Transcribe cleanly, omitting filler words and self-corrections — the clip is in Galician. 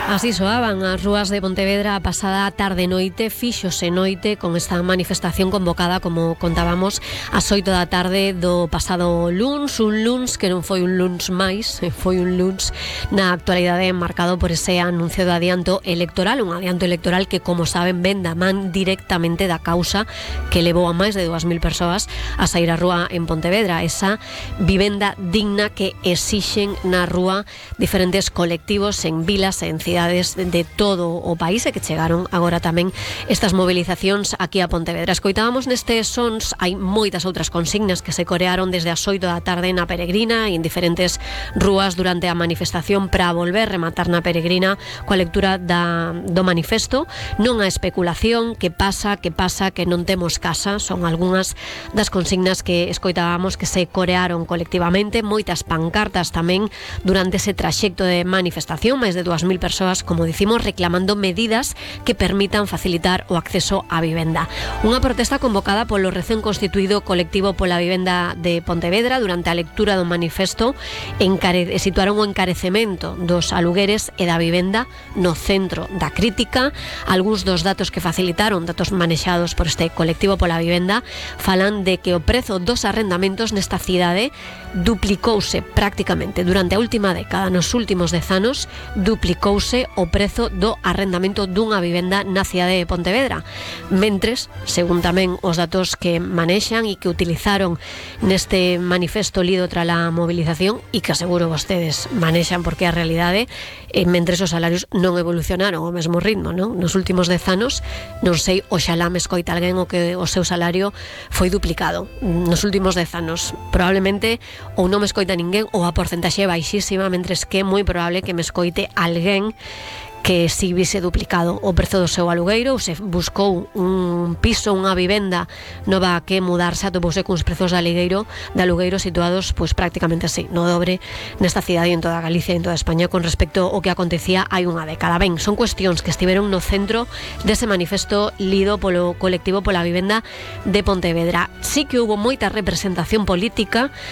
Así soaban as rúas de Pontevedra a pasada tarde-noite, fíxose noite con esta manifestación convocada, como contábamos, ás 8 da tarde do pasado luns, un luns que non foi un luns máis, foi un luns na actualidade marcado por ese anuncio do adianto electoral, un adianto electoral que, como saben, ven da man directamente da causa que levou a máis de 2.000 persoas a sair á rúa en Pontevedra, esa vivenda digna que exixen na rúa diferentes colectivos en vilas e en cidades de todo o país e que chegaron agora tamén estas movilizacións aquí a Pontevedra. Escoitábamos nestes sons, hai moitas outras consignas que se corearon desde as 8 da tarde na Peregrina e en diferentes rúas durante a manifestación para volver rematar na Peregrina coa lectura do manifesto. Non a especulación, que pasa, que non temos casa, son algunhas das consignas que escoitábamos que se corearon colectivamente, moitas pancartas tamén durante ese traxecto de manifestación, máis de 2.000 persoas, como dicimos, reclamando medidas que permitan facilitar o acceso á vivenda. Unha protesta convocada polo recén constituído colectivo pola vivenda de Pontevedra. Durante a lectura do manifesto situaron o encarecemento dos alugueres e da vivenda no centro da crítica. Algúns dos datos que facilitaron, datos manexados por este colectivo pola vivenda, falan de que o prezo dos arrendamentos nesta cidade duplicouse prácticamente durante a última década. Nos últimos 10 anos duplicouse o prezo do arrendamento dunha vivenda na cidade de Pontevedra. Mentres, según tamén os datos que manexan e que utilizaron neste manifesto lido tras a movilización e que aseguro vostedes manexan porque é a realidade, mentres os salarios non evolucionaron ao mesmo ritmo, non? Nos últimos 10 anos, non sei, oxalá me escoita alguén o que o seu salario foi duplicado. Nos últimos 10 anos, probablemente ou non me escoita ninguén ou a porcentaxe é baixísima, mentres que é moi probable que me escoite alguén que si vise duplicado o prezo do seu alugueiro, ou se buscou un piso, unha vivenda nova que mudarse, atopouse cuns prezos de alugueiro situados pois prácticamente así, no dobre nesta cidade e en toda Galicia e en toda España con respecto ao que acontecía hai unha década. Ben, son cuestións que estiveron no centro dese manifesto lido polo colectivo pola vivenda de Pontevedra. Sí que houbo moita representación política